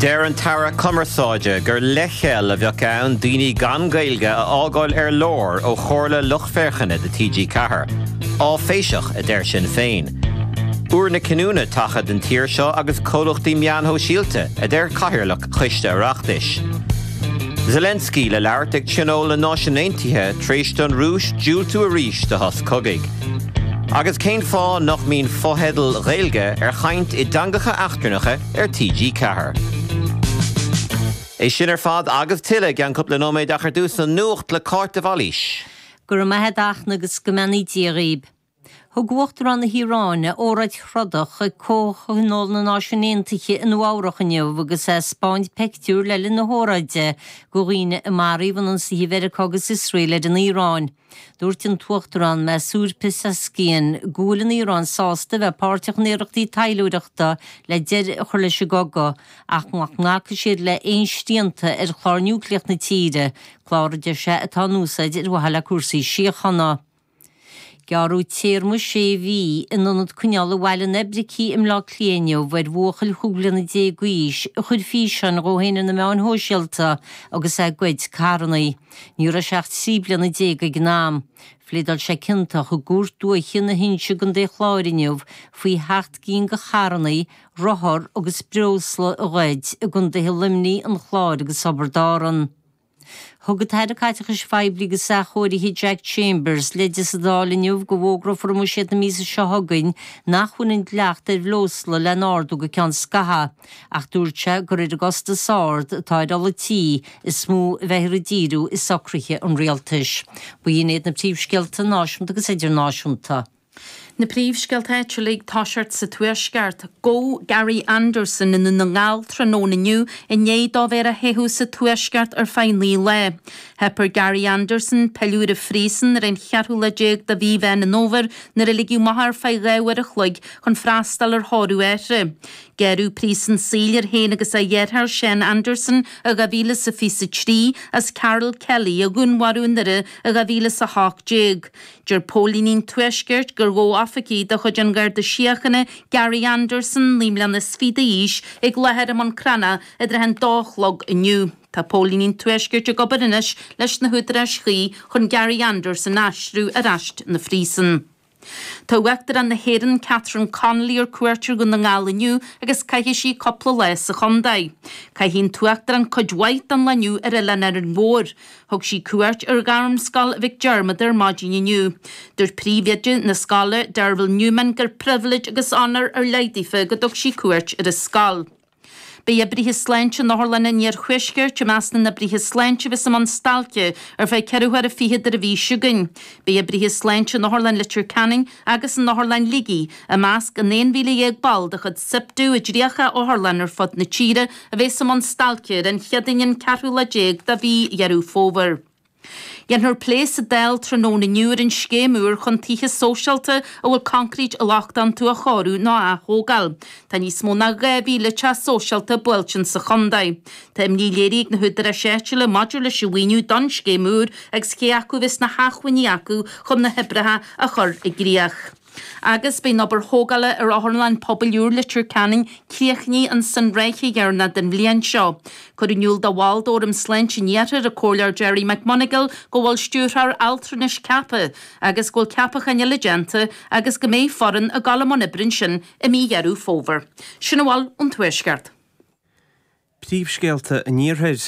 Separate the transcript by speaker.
Speaker 1: Deir an tAire Cumarsáide gur leithcheal a bheadh ann daoine gan Gaeilge a fhágáil ar lár ó Chomhairle Lucht Féachana do TG4. Áiféiseach, a deir Sinn Féin. Uair na cinniúna tagtha don tír seo agus comhlachtaí meáin shóisialta, a deir Cathaoirleach Choiste Oireachtais. Zelensky le labhairt ag Tionól na Náisiún Aontaithe tar éis don Rúis diúltú arís do shos cogaidh. Agus cén fáth nach mbíonn fotheidil Ghaeilge ar chaint i dteangacha eachtrannacha ar TG4? É sin ar fad agus tuilleadh i gceann cúpla nóiméad ach ar dtús an nuacht le Cáit de Bhailís.
Speaker 2: Go raibh maith agat a Fhachtna agus go mbeannaí Dia dhaoib. Thug Uachtarán na hIaráine óráid throdach ag Comhthionól na Náisiún Aontaithe i Nua Eabhrach inniu agus é ag 'spáint peictiúr le linn na hóráide de dhaoine a maraíodh in ionsaithe Mheiriceá agus Iosrael ar an Iaráin. Dúirt an tUachtarán Masoud Pezeshkian go bhfuil an Iaráin sásta a bheith páirteach in iarrachtaí taidhleoireachta le deireadh a chur leis an gcogadh ach nach nglacfaidh siad le haon srianta ar chlár núicléach na tíre, clár a deir sé atá in úsáid ar mhaithe le cúrsaí síochána. Gearradh téarma sé mhí in ionad coinneála Bhaile an Oibricigh i mBleá Cliath inniu ar bhuachaill chúig bliana déag d'aois a chuir físeáin dhó féin ar na meáin shóisialta agus é ag goid carrannaí. Ní raibh sé ach 13 bliana ag an am. Phléadáil sé ciontach i gCúirt Dúiche na hInse i gContae an Chláir inniu faoi sheacht gcinn de charrannaí, rothar agus breosla a ghoid i gcontaetha Luimnigh, an Chláir agus Thiobraid Árann. Thug an tAire Caiteachais Phoiblí agus Athchóirithe Jack Chambers leide sa Dáil inniu go bhfógrófar i mbuiséad na míosa seo chugainn nach bhfuil an dleacht ar bhreosla le n-ardú go ceann scaithimh ach dúirt sé gur ar an gcostas ard atá ar ola tí is mó a bheifear ag díriú i socruithe an rialtais. B'in iad na príomhscéalta náisiúnta agus idirnáisiúnta.
Speaker 3: Na príomhscéalta áitiúla ag toiseacht sa Tuaisceart. Gabhadh Gary Anderson i nDún na nGall tráthnóna inniu i ndiaidh dó bheith ar a theitheadh sa Tuaisceart ar feadh 9 lá. Theip ar Gary Anderson pilleadh ar an phríosún ar an cheathrú lá déag de mhí Mheán an Fhómhair nuair a ligeadh amach é ar feadh 2 uair a chloig chun freastal ar thórramh a athar. Gearradh príosún saoil air féin agus a dheartháir Sean Anderson i 2023 as Carol Kelly a dhúnmharú i nDoire i 2018. Deir póilíní an Tuaiscirt gur ghabh oifigigh de chuid an Gharda Síochána Gary Anderson, 29 mbliana d'aois, ag láthair i mBun Cranncha i dtrátha an dó a chlog inniu. Tá póilíní an Tuaiscirt ag obair anois leis na húdaráis chuí chun Gary Anderson a aistriú ar ais 'na phríosún. Tá Uachtarán na hÉireann Catherine Connolly ar cuairt ar Dhún na nGall inniu agus caithfidh sí cúpla lá sa chontae. Caithfidh an tUachtarán cuid mhaith den lá inniu ar Oileán Árainn Mhór. Thug sí cuairt ar Ghairmscoil Mhic Diarmada ar maidin inniu. Dúirt príomhoide na scoile, Derville Newman, gur pribhléid agus onóir ar leith daofa go dtug sí cuairt ar an scoil. Beidh oibrithe sláinte in otharlanna an iarthuaiscirt i measc na n-oibrithe sláinte a bheas i mbun stailce ar feadh ceithre huaire fichead ar an mhí seo chugainn. Beidh oibrithe sláinte in Otharlann Leitir Ceanainn agus in Otharlann Shligigh i measc an 11,000 ball de chuid SIPTU i 30 otharlann ar fud na tíre a bheas i mbun stailce ar an Chéadaoin an ceathrú lá déag de mhí Dheireadh Fómhair. Dhéanfar plé sa Dáil tráthnóna inniu ar an scéim úr chun tithe sóisialta a bhfuil concrete lochtach iontu a chóiriú nó a ath-thógáil. Tá níos mó ná 2,000 teach sóisialta buailte sa chontae. Tá imní léirithe ag na húdaráis áitiúla maidir leis an mhaoiniú don scéim úr agus cé acu a bheas na hacmhainní acu chun na hoibreacha a chur i gcrích. Agus beidh an obair thógála ar Otharlann Pobail úr Leitir Ceanainn críochnaithe ins an ráithe dheireanach den bhliain seo. Cuireadh in iúl do bhall d'Fhóram Sláinte an Iarthair, an Comhairleoir Gerry McMonagall, go bhfuil stiúrthóir altranais ceaptha agus go bhfuil ceapacháin eile déanta agus go mbeidh foireann ag dul i mbun oibre ansin i mí Dheireadh Fómhair. Sin a bhfuil ón Tuaisceart.
Speaker 4: Príomhscéalta an Iarthair.